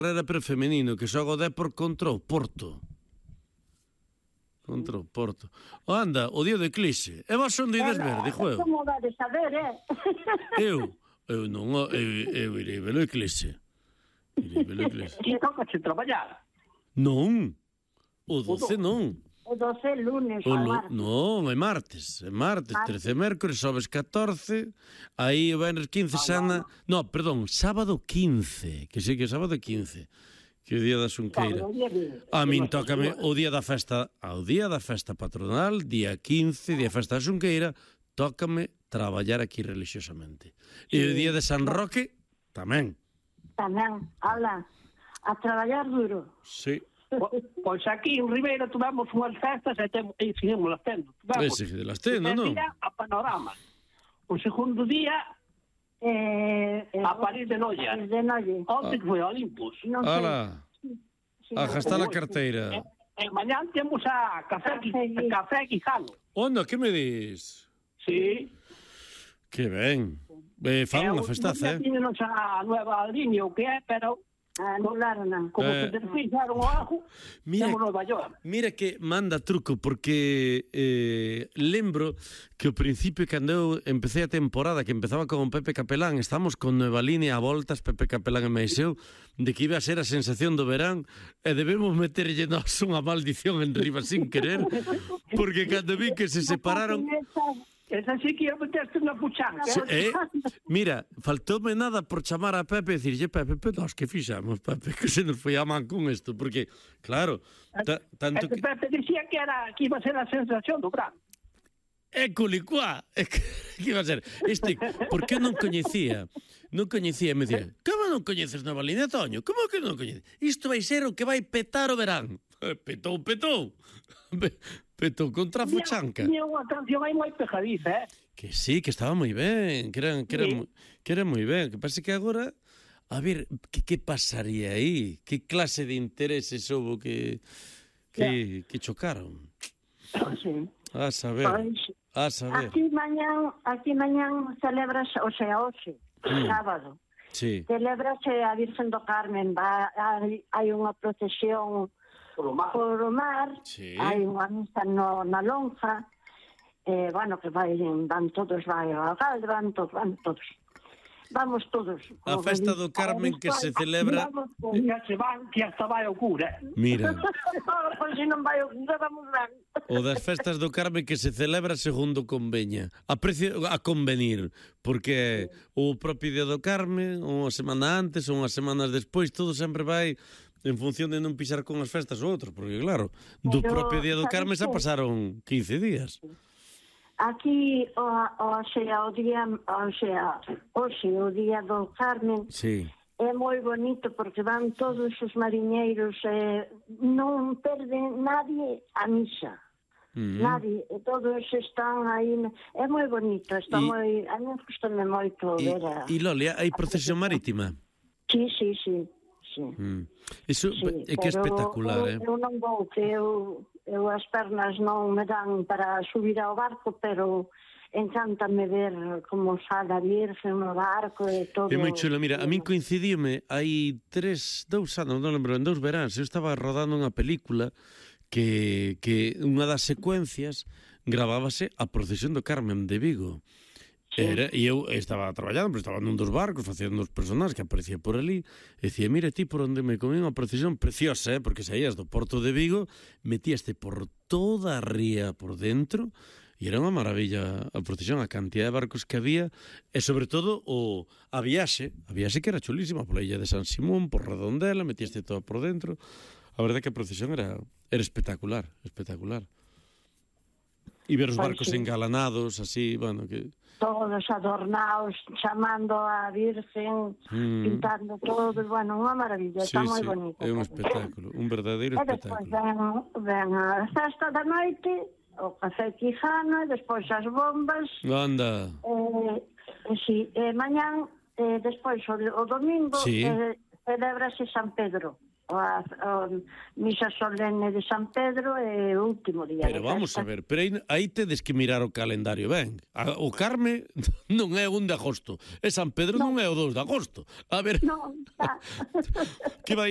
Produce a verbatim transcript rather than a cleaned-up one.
Era pero femenino, que xoga o Depor contra o Porto. Contra o Porto. O anda, o día de Eclipse. E vos son de ides ver, dixo eu. Como dades saber, eh? Eu? Eu non, eu, eu irei ver o Eclipse. Irei ver o Eclipse. E toca se traballar. Non. O doce non. O doce lunes, O o lo, martes. non, é martes, é martes, Martes. trece mércores, sobes catorce, aí o venres quince sana, no, perdón, sábado quince, que sí que é sábado quince, que é o día da Xunqueira. Claro, o día de- A min tócame o día da festa, ao día da festa patronal, día quince, día da festa da Xunqueira, tócame traballar aquí religiosamente. E o día de San Roque, tamén. Tamén, ala, a traballar duro. Sí. Po- Pois aquí en Ribeira tuvemos unhas festas e, temos, e seguimos las tendo. Tuvemos Ese que las tendo, o primer non? día a Panorama. O segundo día Eh, eh, a París de Noia. París de Noia. Onte que foi a Olympus. Non sei. Ala, Sí, a non gastar a sei. carteira. E mañá temos a Café, Café Gui- Café Quijano. Onda, que me dis? Sí. Que ben. Eh, fan unha festaza, eh? Tiñenos a nueva línea o que é, pero Anularon. como Eh. se desfixaron o ajo, Mira, temos Nova York. mira que manda truco, porque eh, lembro que ao principio, cando eu empecé a temporada, que empezaba con Pepe Capelán, estamos con Nueva Línea a voltas, Pepe Capelán e máis eu, de que iba a ser a sensación do verán, e debemos meterlle nos unha maldición en riba sin querer, porque cando vi que se separaron... Esa sí que ia meterte na puchanga. Se- eh, mira, faltoume nada por chamar a Pepe e dicirlle, Pepe, pero nós que fixamos, Pepe, que se nos foi a man con isto, porque, claro, ta, tanto que... Este Pepe dicía que era que iba a ser a sensación do verán. É culicuá, é que, que iba a ser este, porque eu non coñecía, non coñecía, me dicía, como non coñeces Nova Línea, Toño? Como que non coñeces? Isto vai ser o que vai petar o verán. Eh, Petou, petou. Pe- Petou contra a fuchanca. Tiña unha canción aí moi pejadiza, eh? Que sí, que estaba moi ben, que era, que era, Sí. moi- que era moi ben. Que pasa que agora, a ver, que, que pasaría aí? Que clase de intereses houve que, que, que chocaron? Sí. A saber, Pois, a saber. aquí mañán, aquí mañán celebras, o sea, hoxe, Mm. sábado, Sí. celebrase a Virgen do Carmen, va, hai, hai unha procesión Polo mar. por o mar, Sí. hai unha misa no, na lonja, eh, bueno, que vai, van todos, vai ao alcalde, van todos, van todos. Vamos todos. A festa do Carmen que se celebra... Vamos todos. Ya se van, que hasta vai ao cura. Mira, Pois se non vai o cura, vamos ben. o das festas do Carmen que se celebra segundo conveña. A precio a convenir, porque o propio día do Carmen, unha semana antes ou unhas semanas despois, todo sempre vai en función de non pisar con as festas ou outros, porque claro, do Pero, propio día do sabes Carmen xa que- pasaron quince días. Aquí, o, o sea, o día, o sea, hoxe, o día do Carmen, Sí. é moi bonito porque van todos os mariñeiros, eh, non perden nadie a misa. Mm. Nadie, e todos están aí, é moi bonito, está E- moi, a mí gustame moito E, ver a... e Lolia, hai procesión marítima? Sí, sí, sí, sí. Mm. Iso Sí, é que é pero espectacular, eu, eh? eu non vou, que eu, eu as pernas non me dan para subir ao barco, pero encántame ver como sale a Virgen no barco e todo. É moi chulo, mira, a min coincidíome hai tres, dous anos, non lembro, en dous veráns, eu estaba rodando unha película que, que unha das secuencias gravábase a procesión do Carmen de Vigo. Era, e eu estaba traballando, pero estaba nun dos barcos facendo os personaxes que aparecía por ali e dicía, mira ti por onde me comí unha procesión preciosa, eh? Porque saías do Porto de Vigo, metíaste por toda a ría por dentro e era unha maravilla a procesión, a cantidad de barcos que había e sobre todo o, a viaxe, a viaxe que era chulísima pola illa de San Simón, por Redondela, metíaste todo por dentro. A verdade que a procesión era, era espectacular, espectacular. E ver os Pois barcos sí. engalanados, así, bueno, que... Todos adornados, chamando a Virgen, Mm. pintando todo, bueno, unha maravilla, Sí, está moi sí, bonito. é un espectáculo, un verdadeiro E despois espectáculo. ven, ven a festa da noite, o café Quijano, e despois as bombas, Anda, eh, e si, e mañán, eh, despois o, o domingo, Sí. eh, celebrase San Pedro, a, a misa solene de San Pedro e o último día pero de vamos a festa. ver, pero aí, aí tedes que mirar o calendario ben. A, o Carme non é o un de agosto, e San Pedro non, non é o dos de agosto. A ver, Non, está. que vai